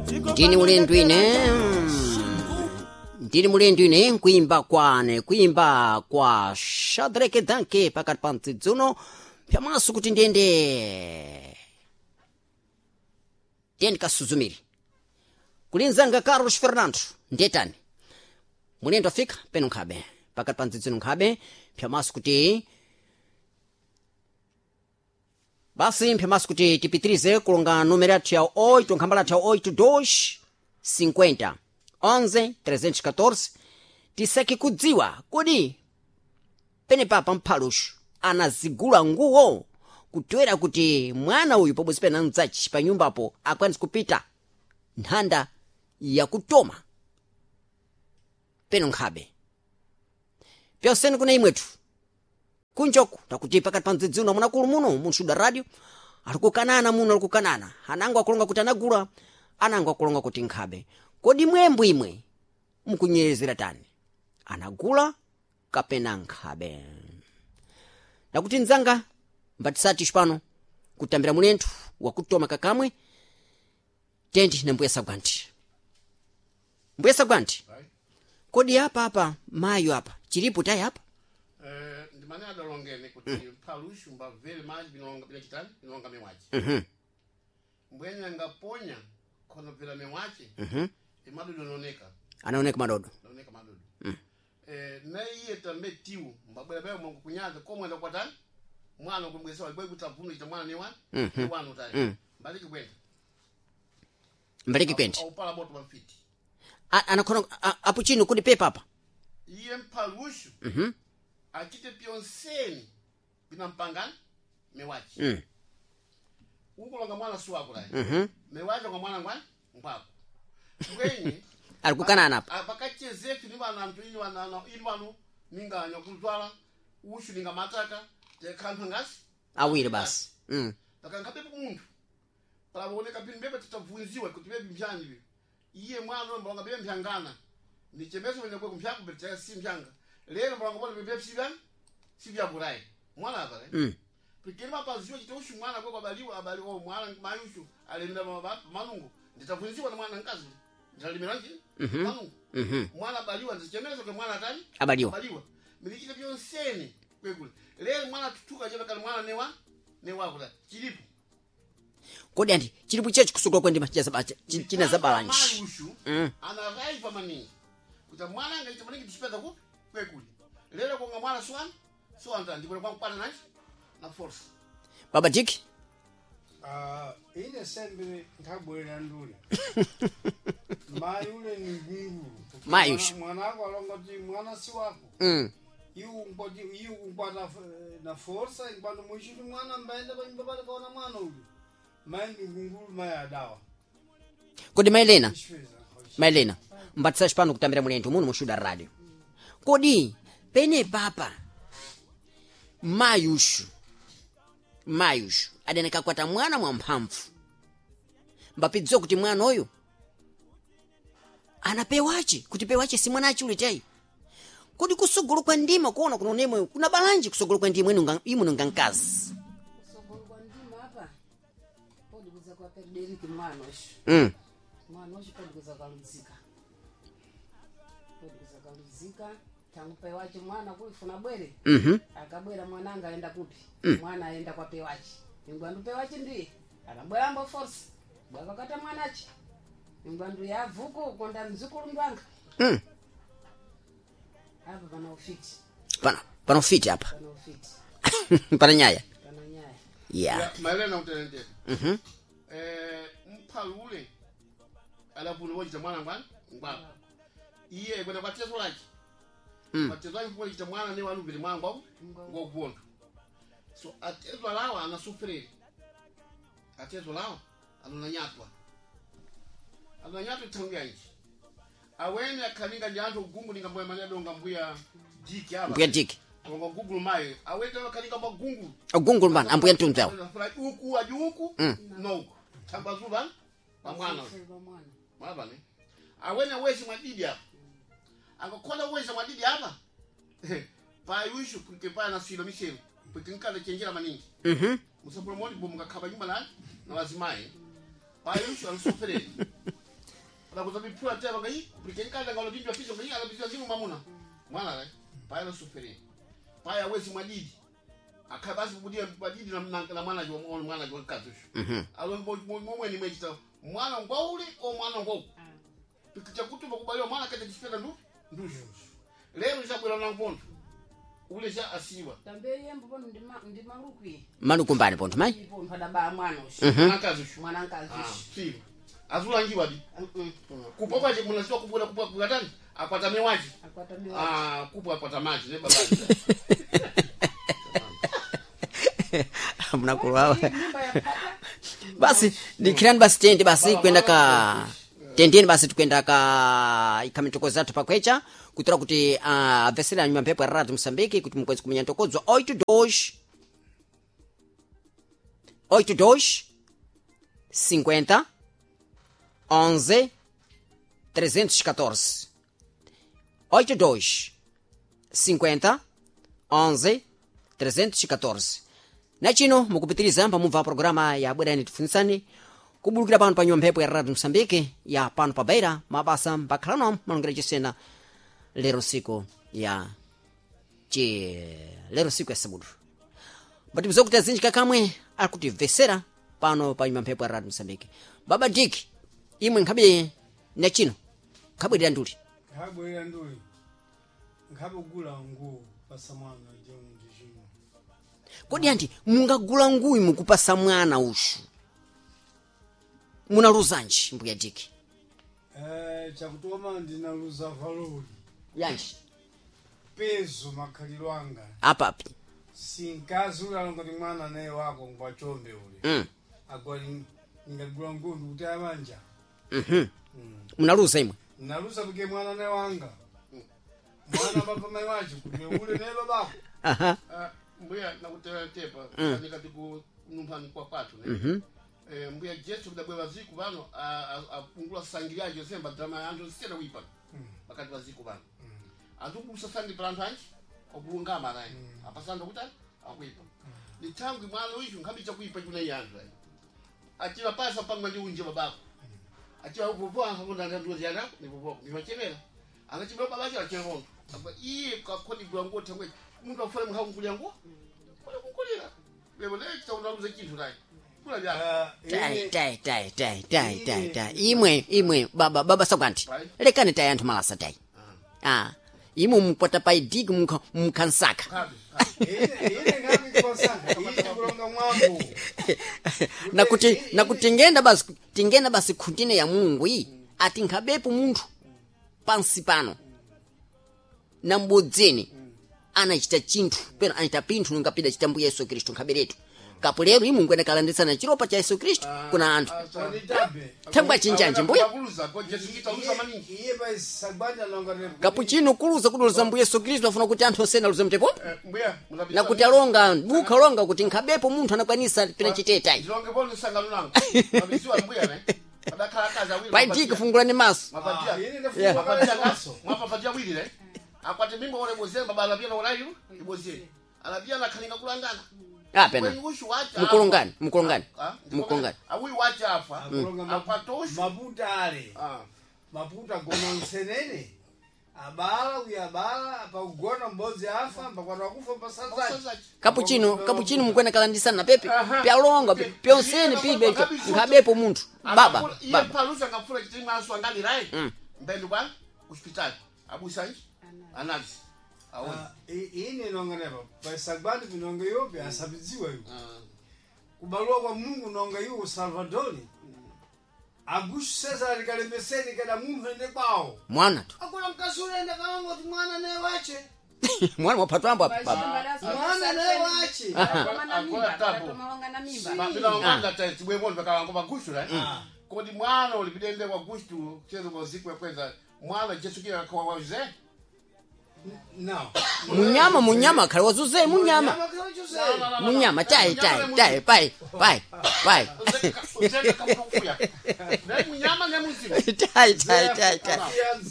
Ndini ulendo ine, ndini mulendo ine nkuimba kwane, kuimba kwa Shadrack Danke pakati pa mdzidzuno pyamaso kuti ndiyende tiyeni kasuzumire kulinzanga Carlos Fernando ndetani mulendo afika peno nkhabe pakati pa mdzidzuno nkhabe pyamaso kuti basi mphyamaso kuti tipitirize kulonga numero yathu ya 8 nkhamba lathu ya 8 2 50 11 314 tisake kudziwa kodi penepapa mphaluxu anazigula nguwo kutwera kuti mwana uyu pomwe pena mdzachi pa nyumbapo akwanisa kupita nthanda yakutoma peno nkhabe pyonseni kuna imwetu kunjoku takuti pakati pa mdzidzi uno munakulu muno munsuda radio alikukanana muno alikukanana anango akulonga kuti anagula anango akulonga kuti nkhabe kodi mwembu imwe mukunyerezera tani anagula kapena nkhabe nakuti mdzanga mbatisati xipano kutambira mulenthu wakutoma kakamwe tendi na mbuya sagwanti mbuya sagwanti kodi apa apa mayo apa chilipo tayi apa ndimane adalongene kuti phalushu mbavere maji binonga binachitani binonga miwachi mbwene angaponya khona bvera miwachi imadodo naoneka anaoneka madodo naoneka madodo na iye tambe tiwu mbabwera paye mwangu kunyanza komwenda kwatani mwana kumbwesa bwe kuti avuno chita mwana niwa niwanu tayi mbaliki kwenda mbaliki kwende aupala moto pamfiti anakhona apo chino kodi pepa apa iye mphalushu achite pyonseni binampangani miwachi ukulonga mwana siwako tayi miwachi onga mwana ngwani ngwako mbwenye alikukanana apa pakachezefi ni vanu anthu ini vanu ini vanu ninganya kuzwala ushu ninga mataka tekhantha ngasi awiri basi mm. pakankhapepo munthu palaoneka pini pepe titabvunziwa kuti pepe mpyanyi ivi iye mwana mbalonga pepe mpyangana ni chemeso pene kwe kumpyangu pete si mpyanga lero mbalonga pone pepe sivya sivyakulayi mwana apa mm. pikeni mapaziwa chite ushu mwana kwe kwabaliwa abali o mwana mayushu alemera manungo nditavunziwa na mwana nkazi nditalimira nji manungo mwana abaliwa ndichemeso ke mwana atani Abaliwa. abaliwa milichite pyonseni kwekule lero mwana tutuka chepekali mwana newa newakula chilipo kodi anti chilipo chechi kusukula kwendima china zabalanji mayushu anaraiva maningi kuti mwana angaita maningi tichipedza ku kwekule lero konga mwana siwani siwanta ndikule kwamkwata nanji na force baba diki Ah, ine sembe nkabwerera ndule mayi ule ni ngungulu Mayi usho. mwanako alonga kuti mwana si wako mm. iwu nkwati iwu nkwata na forsa nkwata muichuti mwana mbaenda panyumba pale kaona mwana uyu mayi ni ngungulu mayi adawa kodi maelena ishweza maelena mbatisa xipano kutambira mulenthu muno muxuda radio kodi pene papa mayuxu mayuxu adanakakwata mwana mwamphamvu mbapidziwa kuti mwana uyu anapewachi kuti pewachi si mwana achi uletayi kodi kusogolo kwa ndima kuona kuno nemwe kuna balanji kusogolo kwa ndima imwe nunga mkazi kusogolo kwa ndima apa podikuza kwa perderiki mwana ushu mm. mwana ushu podikuza kaludzika podikuza kaludzika tangu pewachi mwana kuifuna bwere akabwera mwana anga aenda kupi mwana aenda kwa pewachi ingwandu pewachi ndiye akabwera force bwakakata mwanachi ingwandu yavuko konda mzukulu ndwanga apa pana ufiti pana pana ufiti apa pana ufiti pana nyaya pana nyaya yeah. maelena kutelendeka mphalu ule adapuna wochita mwana ngwani ngwako iye kwenda kwa teso lachi kwa teso lachi kuchita mwana ne wanu vile mwana ngwako ngwakubondo so ateso lawa anasufrere ateso lawa anonanyatwa anonanyatwa thangu yanji awene akhalinga ndi anthu ugungu ninga mbuya mane adonga mbuya diki apa mbuya diki konga gugulu mayi awene akhalinga magungulu agungulu mbana ambuya mtunzawo uku aji uku nouku thambazuva pamwana pa mwana mwapane awene wese mwadidi apa angakhola wese mwadidi apa payushu kuti pana swilo mishelo kuti nkale chenjera maningi musapula moni bomukakhapa nyumba lani na wazimayi payushu alusofereni Nakuzabiphula teba ngayi kulikengana ngalo bindwa pizo ngayi alabizwa zimu mamuna. Mwana lai paya no sufere. Paya wezi mwadidi. Akabasi kubudia mwadidi na na mwana jo mwana jo katushu. Alo momwe ni mwechita mwana ngwaule o mwana ngwa. Pikicha kutuba kubaliwa mwana kaja kisipenda ndu ndushu. Lero jabwera na mpondo. Ule ja asiwa. Tambe yembo pano ndi malukwi. Malukumbani pontho mayi. Ipo mphadaba mwana ushu. Mwana katushu. Mwana nkazi ushu. Siwa. Azulangiwa bi. Kupwa kwaje munasiwa kupwa kupwa kupwa akwata mewaji. Akwata miwaji. Ah, kupwa akwata maji ne baba. Mnakulu awa. Mimba ya pata. Basi dikhirani basi tende basi kwenda ka tendeni basi tukwenda ka ikhamitokozo zathu pakwecha kutora kuti abvesera nyuma mphepo ya radio Moçambique kuti mukwezi kumenya ntokodzo 82 82 50 11 314 82 50 11 314 nachino mukupitiriza pamubva programa ya bwerani tifunitsani kubulukira pano pa nyumba mphepo ya radio Moçambique ya pano pa Beira mabasa mbakhalano malongera chisena lero siku ya chi lero siku ya sabudu mbatibuza kuti azinji kakamwe akutivesera pano pa nyumba mphepo ya radio Moçambique. Baba Dick imwe nkhabe nachino nkhabwerera nduli Nkhabwerera nduli. Nkhabugula nguwo pasa mwana jemu ndijino. Kodi anti mungagula nguyi mukupasa mwana ushu munaluzanji mbuya Dick? Chakutoma ndinaluza valori. Yanji Pezo makhaliro anga. apapi Sinkazi ule alongoti mwana naye wako ngwachombe ule. Agwali ngagula nguwo ndikuti amanja. Munaluza imwe Naluza pike mwana naye wanga. Mwana baba mai wacho kuti ule naye babako. aha Ah, mbuya nakutera tepa kanika tiku numphani kwa kwathu ne. Mbuya Jesu kudabwe vaziku vano apungula sangi yajo semba drama yanjo sitena kuipa. Pakati vaziku vano. Anthu kubusa sangi pa anthu anji okulungama naye. Apasando kuti akuipa. Ni thangwi mwana uyu nkhabicha kuipa chuna iyanjo ayi. Achiva pasa pangwa ndi unje babako. Achiva kupoa hakuna ndandu yana ni popoa ni machemera. Akachimba babacho achevondo. Apa iye kakhoni gula nguo thangwe munthu afuna mkhakunkulira nguo. Kule kunkulira. Lebo leo chitaundaluze chinthu naye. Kula vyako. tai tai tai tai tai tai tai imwe imwe baba baba sakwanti lekani tai anthu malasa tai ah imwe mukwata pai Dick mukhansaka Khabi. Ine nkhabi konsanga. Ine kulonga mwambo. nakuti nakuti ngenda basi tingenda basi khuntine ya Mulungu iyi ati nkhabepo munthu pansi pano na mbodzeni anachita chinthu pena anachita pinthu ningapida chitambu Yesu Khristu nkhaberetu kapo lero imwe ngwena kalanditsana chiropa cha Yesu Khristu kuna anthu Tanitabe. thangwa chinjanji mbuya Kuluza kwa Jesu ngitaluza maningi. Iye paisagwanja longa kapuchino kuluza kuduluza mbuye Yesu Khristu afuna kuti anthu osena aluze mtepo Mbuya munapita. nakuti alonga buka alonga kuti nkhabepo munthu anakwanisa pena chitetayi Ndilonge pone sangano langu. Mabiziwa mbuya ne. Adakhala kaza awiri. pai Dick fungulani maso Mapatia. Ine ndafunga Mapatia maso. Mapatia awiri ne. Akwate mimba ole bozie baba alapia na olayu ibozie. Alapia na kalinga kulangana. ah pena Kwenye ushu wacha. mukulungani mukulungani Ah, mukulungani Awi wacha afa. Akulonga Akwatoshu. maputa ale. Ah. Maputa gona nsenene. Abala uyabala paugona mbodzi afa mpakwata wakufa pasanzachi. kapuchino kapuchino mukwena kalandisana na pepe Aha. pyalonga pyonsene pibe nkhabepo munthu baba Iye baba paluza ngafula chitima aso angali rai. Mbendu kwa hospitali. Abusanji. Analysis. Awe. Ine nonga nepa paisagwandi pinonga yope asabidziwa iwo. Kubalua kwa Mungu nonga iwo Salvadori. Augusto Cesar likalemeseni kada munthu ende kwawo. mwana tu Akula mkazi ulenda kalonga kuti mwana naye wache. mwana mwaphatwambo apa baba Mwana naye wache. Malonga na mimba. Mapita wanganda ta tibwe bondo kawango bagushu rai. Kodi mwana ulipidende kwa gushtu chezo kwa zikwe kweza mwana Jesu kila kwa waze. No. munyama munyama khali wazuze munyama munyama tai tai tai pai pai pai Uzeka kamukuya. Ne munyama ne muzimu. tai tai tai tai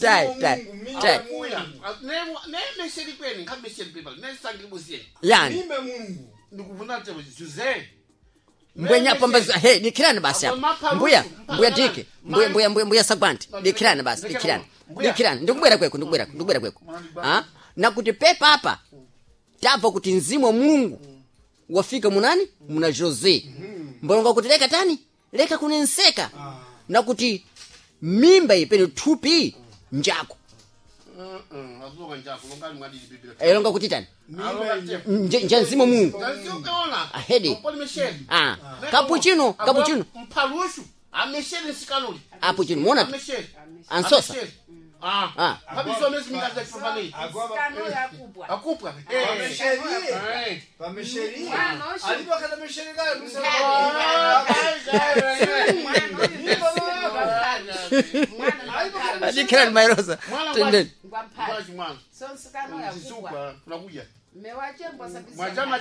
tai tai tai Kuya. Ne ne meseli kweni kha meseli people ne sangi buzie. yani Mimbe Mungu. Ndikuvuna te Jose. Mbwenya pamba he dikirani basi apa. Apa Mbuya, maparusu, mbuya mpaka dike. Mbuya mbuya mbuya mbuya sagwanti. Dikirani basi, dikirani. Mbuya. Dikirani, ndikubwera kweko, ndikubwera, ndikubwera kweko. Ah? Na kuti pepa apa tabva kuti mzimu wa Mulungu wafika munani? Muna Jose. Mbolonga kuti leka tani? Leka kunenseka. Na kuti mimba ipene thupi njako. Azoka njako longani mwadili biblia. Elonga kuti tani? Mimba inja. Nje mzimu wa Mulungu. Ndanziukaona. Ahedi. Poli mesheli. Ah. Kapuchino, kapuchino. Mpalushu. Amesheli nsikanuli. Apuchino, muona Amesheli. ansosa. Amesheli. Ah. Ah. Kabiso mesi mingaza kifafani. Msikano yakupwa Akupwa. Pamesherie. Eh. Pamesherie. Mwana osho. Alipo akata mesheri kale kusema. Mwana Dikirani mairosa. Mwana Tendeni. ngwamphala Mwana. so nsikano yakupwa Zisuka tunakuja. mmewachembwa sabisa Mwajama